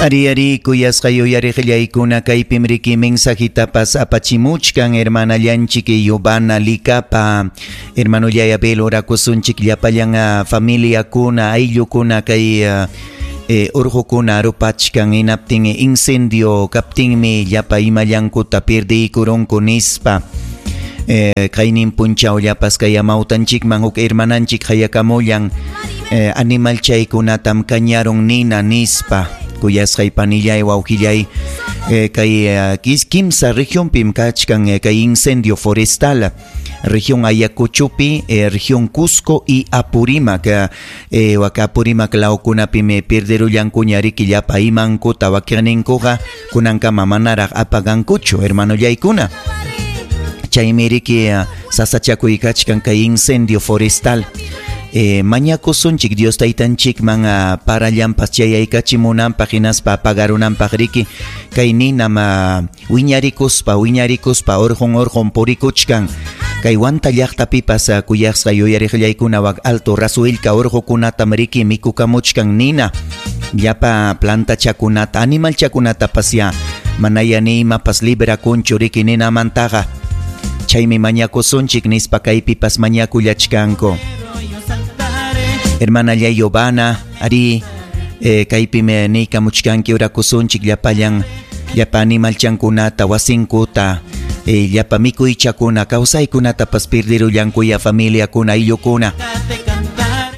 Ari ari kuyasqa yuyariqllaykuna, kaypim riki mensajitapas apachimuchkan hermanallanchik Yubana Likapa. Hermanollay Abel, orakusunchik llapallan familiakuna, ayllukuna kay urqukuna rupachkan, hinaptin incendio kaptinmi llapa imallankuta pierdiykurunku nispa. Kaynin punchawllapas kay amawtanchikman huk hermananchik hayakamullan, animal chaykunatam kañarun nina nispa. Kuyasqay panillay, wawqillay, kay kimsa regionpim kachkan kay incendio forestal: región Ayacuchopi, región Cusco y Apurímac. Wak Apurímac lawkunapim pierderullankuña riki llapa imankuta, wakiqninkuqa kunankama manaraq apagankuchu, hermanollaykuna. Chaymi riki sasachakuy kachkan kay incendio forestal. Mañakusunchik Dios taytanchikman parallampas chayaykachimunanpaq hinaspa apagarunanpaq riki kay ninam wiñarikuspa wiñarikuspa urqun urqun purikuchkan. Kay Huanta llaqtapipas, kuyasqa yuyariqllaykuna, wak Alto Rasuilka urqukunatam riki mikukamuchkan nina, llapa plantachakunata, animalchakunatapas ya manaya ni imapas librakunchu riki ninamantaqa. Chaymi mañakusunchik nispa kaypipas mañakullachkanku. Hermana Yayobana, ari, kaypim niykamuchkanki orakusunchik llapallan llapa animalchankunata, wasinkuta, llapa mikuychakuna, kawsaykunatapas pirdirullankuya familiakuna, ayllukuna.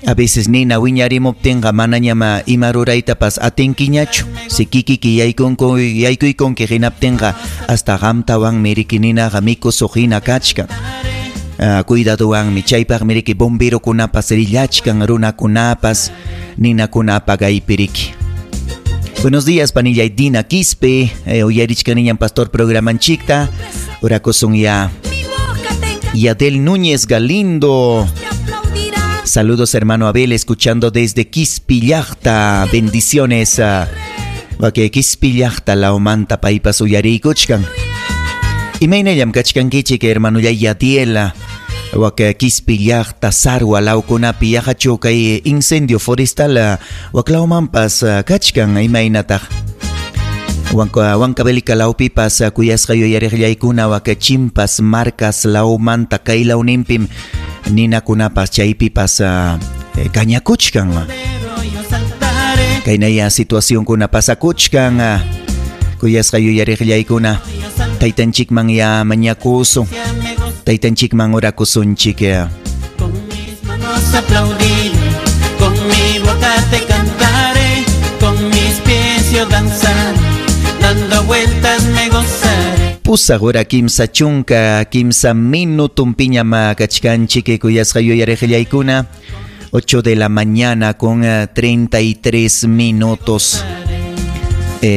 A veces nina wiñarimuptinqa manañam ima ruraytapas atinkiñachu. Si kikiki yaykunku yaykuykunki hinaptinqa hasta qamtawanmi riki ninaqa mikusuq hina kachkan. Cuidadowanmi chaypaqmi riki bomberokunapas rillachkan, runakunapas ninakuna apagaypi riki. Buenos días, panillay Dina Quispe, uyarichkaniñam pastor programanchikta. Orakusun ya. Yadel Núñez Galindo. Saludos, hermano Abel, escuchando desde Quispillacta. Bendiciones. Okay, Quispillacta lawmanta paypas uyariykuchkan. Imaynallam kachkankichik, hermano Yadiela? Wak Quispillacta, Sarwa lawkunapi yaqachu kay incendio forestal waklawmanpas kachkan, imaynataq? Huancavelica lawpipas, kuyasqa yuyariqllaykuna, wak Chimpas, Marcas lawmanta kay lawninpim ninakunapas chaypipas kañakuchkan. Kaynaya situacionkuna pasakuchkan, kuyasqa yuyariqllaykuna, taytanchikman ya mañakusun, taytanchikman orakusunchik. Con mis manos aplaudiré, con mi boca te cantaré, con mis pies yo danzaré, dando vueltas me gozaré. 8 hora 33 minutunpiñam kachkanchik, kuyasqa yuyariqllaykuna. 8 de la mañana con 33 minutos.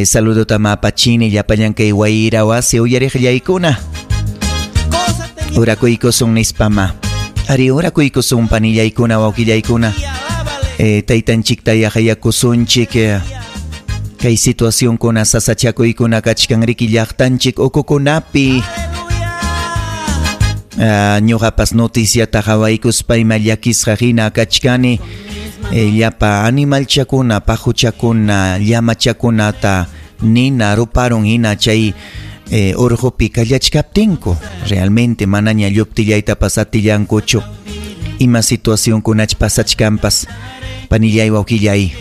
Saludo tamapachini llapallan kay wayra wasi uyariqllaykuna. Orakuykusun nispama. Ari orakuykusun panillaykuna, wawqillaykuna. Taytanchikta yahayakusunchik. Kay situacionkuna sasachakuykuna kachkan riki llaqtanchik ukukunapi. Ñuqapas noticiata qhawaykuspa ima llakisqa hina kachkani. Llapa animalchakuna, paquchakuna, llamachakunata nina ruparun hina chay urqupi kallachkaptinku. Realmente manaña lluptillaytapas atillankuchu. Ima situacionkunach pasachkanpas, panillay, wawqillay.